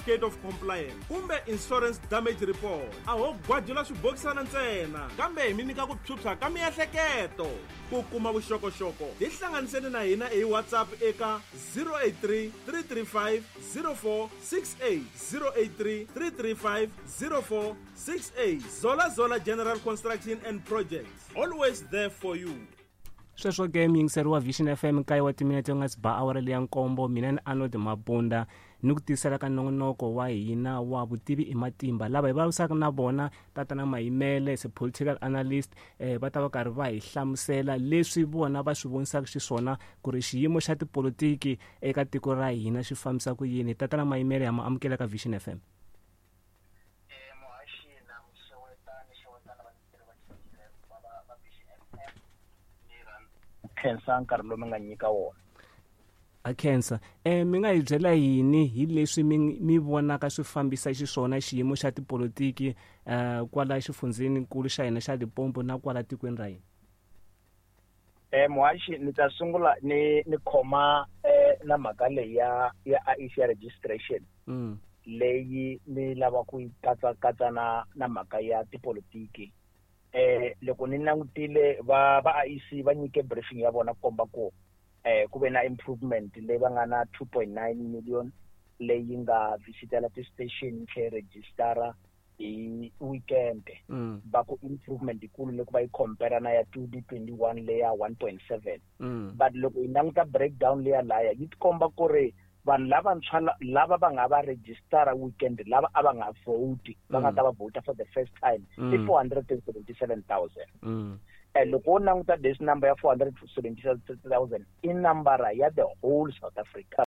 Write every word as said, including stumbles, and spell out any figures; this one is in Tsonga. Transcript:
Certificate of Compliance kumbe Insurance Damage Report. A ho gwajula swibokisana ntsena, kambe hi mi nyika ku phyuphya ka miehleketo. Ku kuma vuxokoxoko, tihlanganiseni na hina hi WhatsApp eka zero eight three, three three five, zero four six eight, zero eight three, three three five, zero four six eight. Zola Zola General Construction and Projects, always there for you. Sweswo ke muyingiseri wa Vision F M nkaye wa timinete u nga si ba awara leya nkombo, mina ni Arnold Mabunda ni ku tisela ka nongonoko wa hina wa vutivi i matimba. Lava hi vulavurisaka na vona Tatana Mayimele as a political analyst, eh, va ta va karhi va hi hlamusela leswi vona va swi vonisaka xiswona ku ri xiyimo xa tipolitiki eka tiko ra hina xi fambisa ku yini. Tatana Mayimele, ha mu amukela ka Vision F M. Khensa nkarhi lowu mi nga nyika wona. A khensa. Eh, mi nga hi byela yini hi leswi mi, mi vonaka swi fambisa xiswona xiyimo xa tipolitiki, eh, kwala xifundzheninkulu xa hina xa Limpopo na kwala tikweni ra hina? Eh, muhaxi, ni ta sungula ni, ni khoma, eh, na mhaka leyi ya, ya I E C ya registration. Mm. Leyi ni lava ku yi katsa, katsa na, na mhaka ya tipolitiki. Eh, loko ni langutile va, va I E C va nyike briefing ya vona ku komba ku, eh, ku ve na improvement leyi va nga na two point nine million leyi nga visitela ti-station tlhe registara hi weekend. Mm. Va ku improvement yikulu loko va yi compare na ya twenty twenty-one leya one point seven. Mm. But loko hi languta breakdown leya laya yi tikomba ku ri vanhu lavantshwa la-, lava va nga va registara weekend lava a va nga vote, va nga Mm. ta va vota for the first time, i Mm. four hundred and seventy-seven thousand. Mm. Eh, loko wo languta this number ya four hundred and seventy-seven thousand i nambara ya the whole South Africa.